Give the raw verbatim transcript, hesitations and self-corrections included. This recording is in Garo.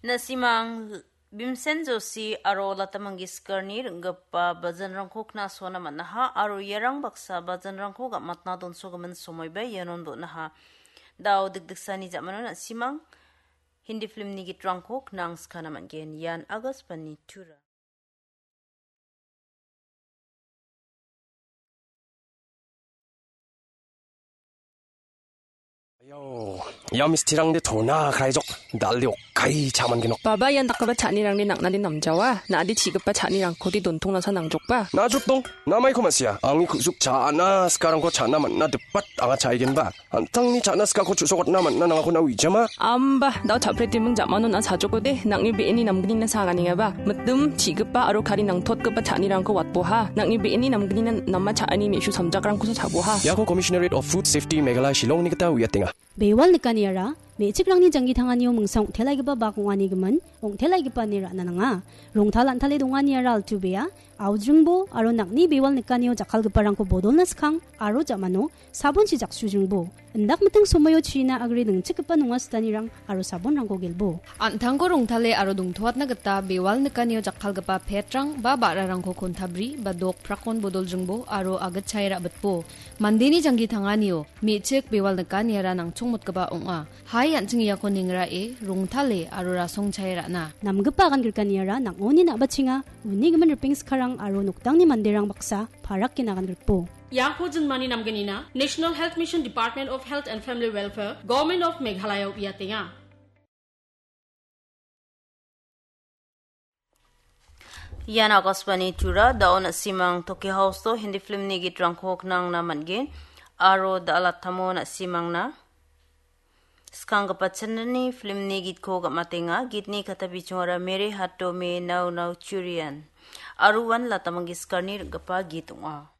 Na·simang Bhimsen Joshi aro Lata Mangeshkarni ring·gipa bajanrangko knasona man·aha aro iarang baksa bajanrangko gam·atna donsogimin somoiba ianon donaha. Dao dikdiksani ja·mano na·simang Hindi filmni gitrangko knangskana man·gen. Ian Akashvani Tura. Ayo, ia mistirangde tona kraijok, dal·de okkai cha·mangenok. Baba, ian dakgipa cha·anirangde nang·nade namjawa, na·ade chi·gipa cha·nirangkode dontongnasa nangjokba. Najrok dong, namaiko ma·sia, angni ku·suk cha·ana sikarangko cha·na man·na dipat anga cha·aigenba. An·tangni cha·na sikako chu·sokatna man·na nangako na uijama. Amba, dao cha·pretiming ja·mano na sajokode, nang·ni be·eni namgnina saganengaba. Mitim, chi·gipa aro kari nangtotgipa cha·anirangko watboha. Nang·ni be·eni namgnina nama cha·ani me·su samjakrangkosa cha·boha. Iako Commissionerate of Food Safety Meghalaya Shillongni gita uiatenga. Bewal nikaniara, me·chikrangni janggi tanganio mingsang ong·telaigipa bak ong·anigimin, ong·telaigipa ine ra·na nanga. Rongtal an·tale donganiara altu bea, aujringbo aro nang·ni bewal nikanio jakkalgiparangko bodolna skang aro ja·mano sabonchi jaksuijringbo. Indak miting somoio china agre ningchikgipa nonga sitanirang aro sabonrangko gelbo. An·tangko rongtale aro dongtoatna gita bewal nikanio jakkalgipa petrang ba ba·rarangko kontabri ba dok prakon bodoljringbo aro agitchae ra·bitbo. Mandeni janggi tanganio me·chik bewal nikaniara nangchongmotgipa ong·a. Hai an·ching iako nengrae, rongtale aro rasongchae ra·na. Namgipa agan grikaniara nang·oni na·bachenga, uni gimin ripeng skarang aro noktangni manderang baksa parake nagan grikbo. Iako jinmani namgnina National Health Mission Department of Health and Family Welfare, Government of Meghalaya uiatenga. Ian Akashvani Tura, dao na·simang Tokyo House-o Hindi filmni gitrangko knangna man·gen, aro da·alatamo na·simangna skanggipa channelni filmni gitko gam·atenga. Gitni kata bichongara Mere Haat Mein Nau Nau Churiyan, aro uan Lata Mangeshkarni ring·gipa git ong·a.